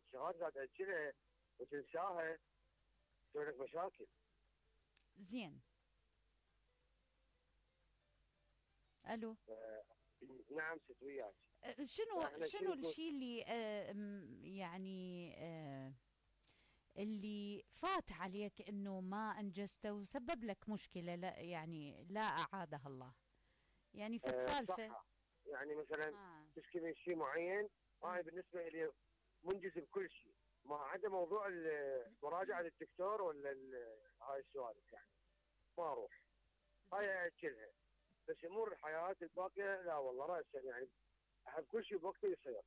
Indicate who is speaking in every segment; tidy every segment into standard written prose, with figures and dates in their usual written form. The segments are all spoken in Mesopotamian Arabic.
Speaker 1: الشغلات قاعد تاجلها وتنساها تسوي لك مشاكل.
Speaker 2: زين. الو.
Speaker 1: نعم ست وياك.
Speaker 2: شنو الشيء اللي يعني اللي فات عليك انه ما انجزته وسبب لك مشكله، لا يعني لا اعادها الله، يعني فت سالفه
Speaker 1: يعني مثلا تشكي من شيء معين، هاي بالنسبه لي منجز بكل شيء ما عدا موضوع المراجعه للدكتور ولا هاي السوالف، يعني ما اروح هاي اجلها. بس امور الحياه الباقيه لا والله راسا، يعني احب كل شيء بوقته يصير.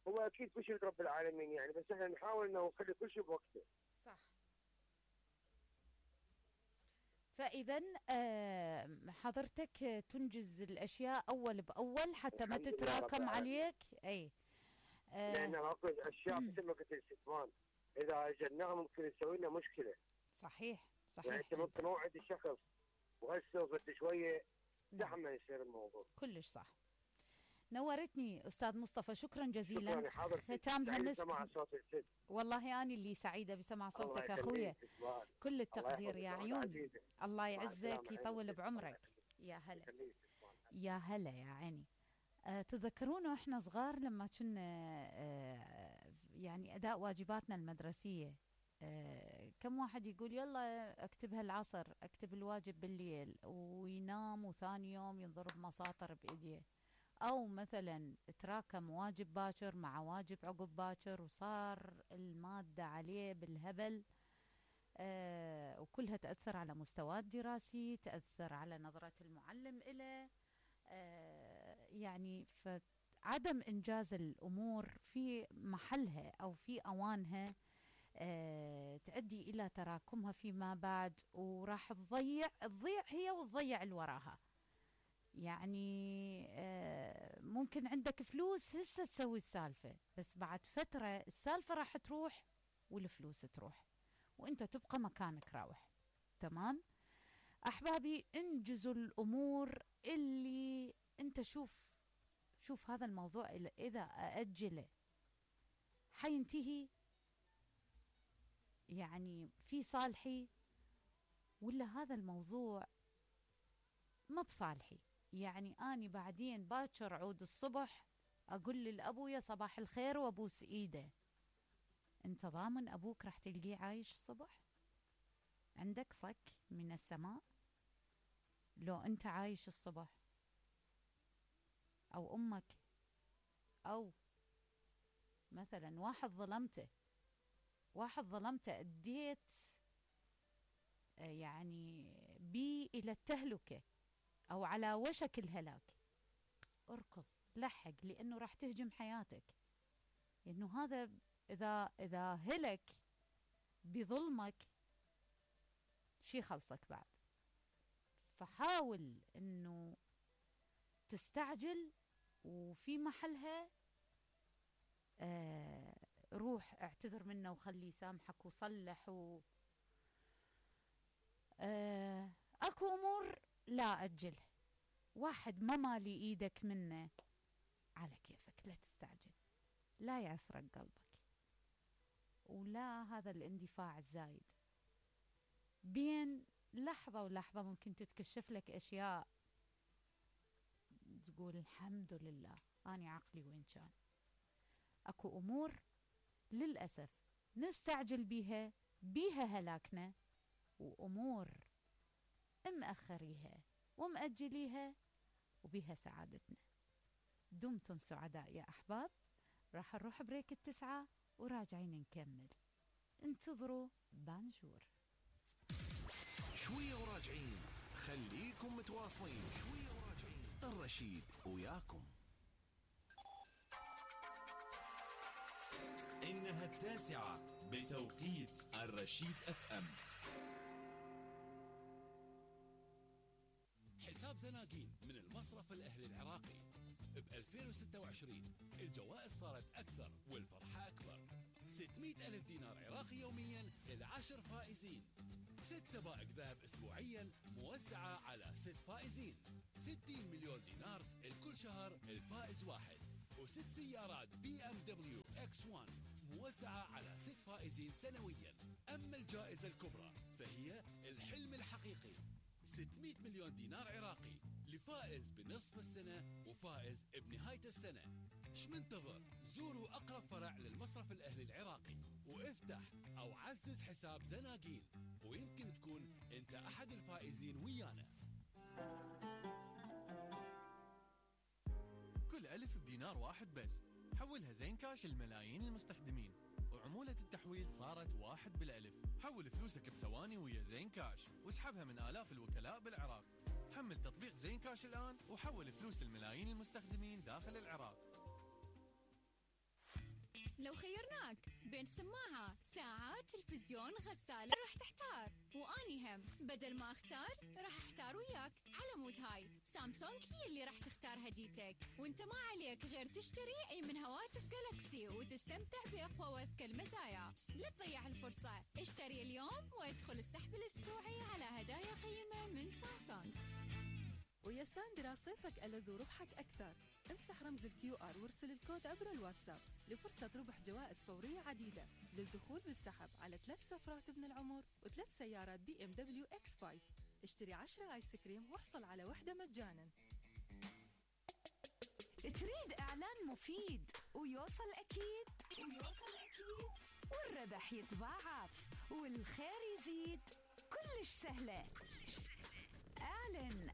Speaker 1: هو اكيد كل شيء رب العالمين يعني، بس احنا نحاول انه نخلي كل شيء بوقته.
Speaker 2: صح. فاذا حضرتك تنجز الاشياء اول باول حتى ما تتراكم عليك. اي
Speaker 1: لان اكو اشياء مثل ما قلت الاستثمار اذا اجلناها ممكن تسوي لنا مشكله.
Speaker 2: صحيح
Speaker 1: يعني انت ممكن موعد الشخص وهسه بعد شويه زحمه يصير الموضوع.
Speaker 2: كلش صح. نورتني استاذ مصطفى، شكرا جزيلا.
Speaker 1: شكرا حضرتك.
Speaker 2: ختام هالمسك
Speaker 1: سمع صوت الست.
Speaker 2: والله انا اللي سعيده بسمع صوتك اخويا. كل التقدير يا عيون. الله يعزك يطول بعمرك. يا هلا يا هلا يا عيني. تذكرون واحنا صغار لما كنا يعني اداء واجباتنا المدرسيه، كم واحد يقول يلا اكتبها العصر، اكتب الواجب بالليل، وينام وثاني يوم ينضرب مساطر بايديه. او مثلا تراكم واجب باكر مع واجب عقب باكر وصار المادة عليه بالهبل، وكلها تأثر على مستواه الدراسي، تأثر على نظرة المعلم إله. يعني فعدم إنجاز الأمور في محلها أو في أوانها تؤدي إلى تراكمها فيما بعد، وراح تضيع هي وتضيع اللي وراها. يعني ممكن عندك فلوس هسه تسوي السالفة، بس بعد فترة السالفة راح تروح والفلوس تروح وانت تبقى مكانك راوح. تمام أحبابي، انجزوا الأمور اللي انت شوف هذا الموضوع إذا أأجله حينتهي يعني في صالحي، ولا هذا الموضوع ما بصالحي. يعني أني بعدين باكر عود الصبح أقول للأبويا صباح الخير وأبوس إيده. أنت ضامن أبوك راح تلقيه عايش الصبح؟ عندك صك من السماء لو أنت عايش الصبح؟ أو أمك، أو مثلا واحد ظلمته أديت يعني بي إلى التهلكة أو على وشك الهلاك، اركض لحق، لأنه راح تهجم حياتك. لأنه هذا إذا هلك بظلمك شي خلصك بعد. فحاول أنه تستعجل، وفي محلها روح اعتذر منه وخليه يسامحك وصلح اكو امور لا اجل. واحد ما مالي ايدك منه على كيفك، لا تستعجل، لا يعسرك قلبك، ولا هذا الاندفاع الزايد. بين لحظة ولحظة ممكن تتكشف لك اشياء تقول الحمد لله اني عقلي وين كان. اكو امور للأسف نستعجل بيها هلاكنا، وامور مأخريها ومأجليها وبيها سعادتنا. دمتم سعداء يا أحباب. راح نروح بريك 9 وراجعين نكمل. انتظروا بانجور.
Speaker 3: شوية وراجعين، خليكم متواصلين. شوية وراجعين، الرشيد وياكم.
Speaker 4: إنها 9 بتوقيت الرشيد FM. حساب زناقين من المصرف الأهلي العراقي. ب 2026 الجوائز صارت أكثر والفرحة أكبر. 600 ألف دينار عراقي يوميا ل10 فائزين. 6 سبائك ذهب أسبوعيا موزعة على 6 فائزين. 60 مليون دينار لكل شهر الفائز واحد. و6 سيارات BMW ماكس 1 موزعة على 6 فائزين سنويا. أما الجائزة الكبرى فهي الحلم الحقيقي، 600 مليون دينار عراقي لفائز بنصف السنة وفائز بنهاية السنة. ايش منتظر؟ زوروا أقرب فرع للمصرف الأهلي العراقي وافتح أو عزز حساب زناقيل، ويمكن تكون أنت أحد الفائزين ويانا.
Speaker 5: كل ألف بدينار واحد بس، حولها زين كاش لملايين المستخدمين، وعمولة التحويل صارت 1 بالألف. حول فلوسك بثواني ويا زين كاش واسحبها من آلاف الوكلاء بالعراق. حمل تطبيق زين كاش الآن وحول فلوس الملايين المستخدمين داخل العراق.
Speaker 6: لو خيرناك بين سماعة، ساعة، تلفزيون، غسالة، راح تحتار. واني هم بدل ما اختار راح احتار وياك. على مود هاي سامسونج هي اللي راح تختار هديتك، وانت ما عليك غير تشتري اي من هواتف جالكسي وتستمتع باقوى واذكى المزايا. لا تضيع الفرصة، اشتري اليوم وادخل السحب الاسبوعي على هدايا قيمة من سامسونج.
Speaker 7: ويا ساندرا صيفك ألذ وربحك أكثر. امسح رمز الQR وارسل الكود عبر الواتساب لفرصة ربح جوائز فورية عديدة للدخول بالسحب على 3 سفرات ابن العمر و3 سيارات BMW X5. اشتري 10 آيس كريم واحصل على 1 مجانا.
Speaker 8: تريد إعلان مفيد ويوصل أكيد والربح يتضاعف والخير يزيد، كلش سهلة. اعلن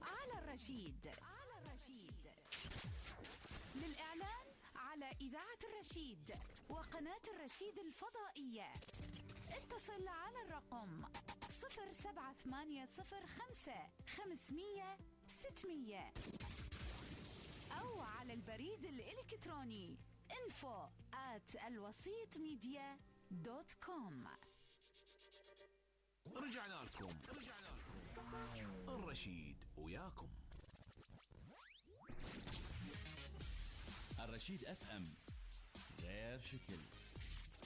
Speaker 8: على الرشيد. للإعلان على إذاعة الرشيد وقناة الرشيد الفضائية اتصل على الرقم 07805 500 600 أو على البريد الإلكتروني info@alwasitmedia.com.
Speaker 3: رجعنا لكم الرشيد وياكم.
Speaker 9: الرشيد FM غير شكل.